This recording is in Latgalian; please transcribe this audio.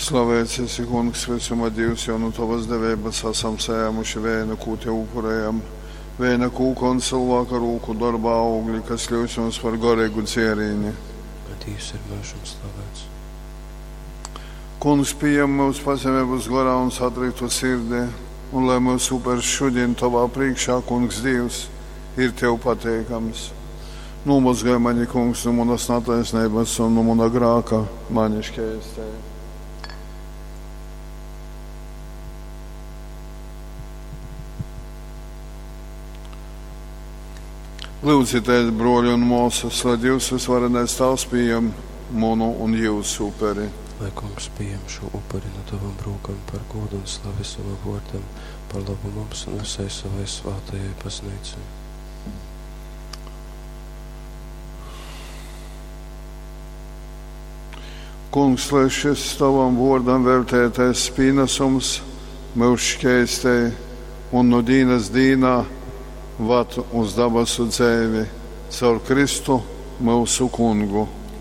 Slavēts esi, Kungs, vysuma Dīvs, jo nu tovas deveibas asam sajēmuši veinu, kū tev upurējam. Veina kūka un cylvāka rūku dorba augļi, kas kļūst mums par goreigu dzierīni. Lai Dīvs ir myužam slavēts. Kungs, pījem myus pazemeibas gorā un satriktu sirdi, un lai mūsu upers šodien tovā priekšā, Kungs Dīvs, ir tev pateikams. Nomazgāj mani, Kungs, no manas netaisnības un no mana grāka, mani šķēstē. Lūdzieties, broļi un māsas, lai Dievs visvarenais Tavs pieņem manu un jūsu uperi. Lai Kungs pieņem šo upuri no tavam rūkam par godu un slavi savam vārdam, par labu mums un visai savai svētajai baznīcai. Kungs, lai šis tavam vārdam veltētais pienesums mūs šķēstē un no dīnas dīnā vad uz dabasu dzēvi caur Kristu mūsu kungu.